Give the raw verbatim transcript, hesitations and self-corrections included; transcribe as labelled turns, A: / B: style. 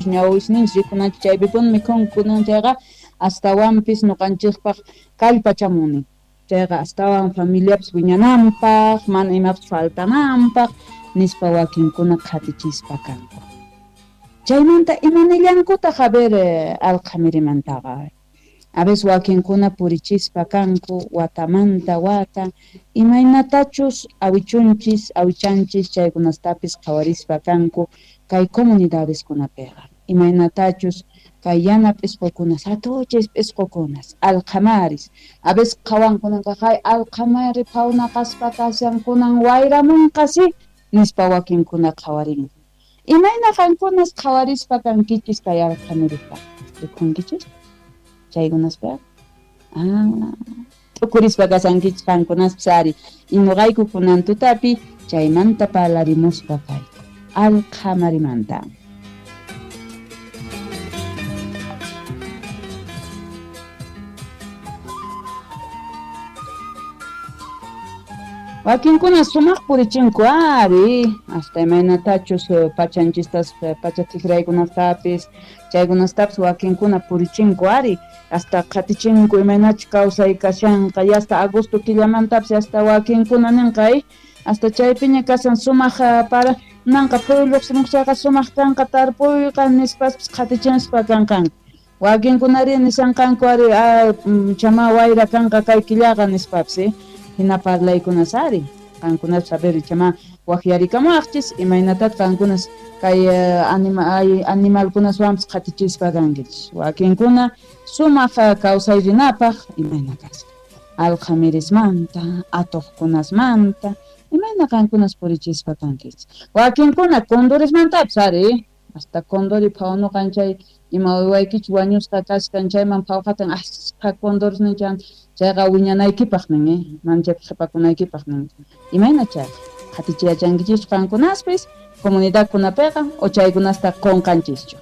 A: Ñawisninchis rikunanchis chaypipuni mikhunku chayqa astawanpis ñuqanchikpaq kallpachamunin. Chayqa astawan familiapis wiñananpaq, mana imapis faltananpaq nispa wakinkuna qhatichispa kanku. Chaymanta imanillankutaq a ver alqhamirimantaqa. A veces wakinkuna purichispa kanku watamanta wata imaynatachus awichunchis awichanchis chaykunastapis qhawarispa kanku kay comunidadeskunapiqa. Imaynatachus kay yana p'isqukunas hatuchis p'isqukunas alqhamaris a veces qhawankunanqa hay alqhamari phawnaqaspa kashan kunan wayramunqasi nispa wakinkuna qhawarinku. Imayna qankunas qhawarispa kankichis kay alqhamirita rikunkichis chaykunaspa ah t'ukurispa kashankichis qankunaspis ari ñuqayku kunan tutapi chaymanta parlarimuspa kayku alqhamarimanta. Wakinkuna sumaq purichinku ari hasta imaynatachus pachanchistas pacha tijraykunastapis chaykunastapis wakinkuna purichinku ari hasta qhatichinku imaynachus kawsay kashanqa y hasta agosto killamantapis hasta wakinkuna ninqa hasta chaypiña kashan sumaq para nanqa phuyu lluqsimuq sumaq kanqa tarpuyqa nispaspis qhatichinspa kanqanku. Wakinkunari nishanqanku ari chama wayra kanqa kay killaqa nispapis hina parlaykunas ari qankunas saber chama waqyarikamaqchis imaynatat qankunas kay anima animalkunaswanpis qhatichispa kankichis wakinkuna sumaq kawsay rinapaq imayna kasqa alqhamirismanta atuqkunasmanta imayna qankunas purichispa kankichis wakinkuna condorismantapis ari hasta condori phawnuqan chay ima uywaykichis wañusqa kashkan chayman phawqatan asqa condores ninchan chayqa wiñanaykipaq nin eh mana chaypi qhipakunaykipaq nin imayna chayqa qhatichiyachankichis qankunaspis comunidadkunapiqa o chaykunasta qunqanchischu.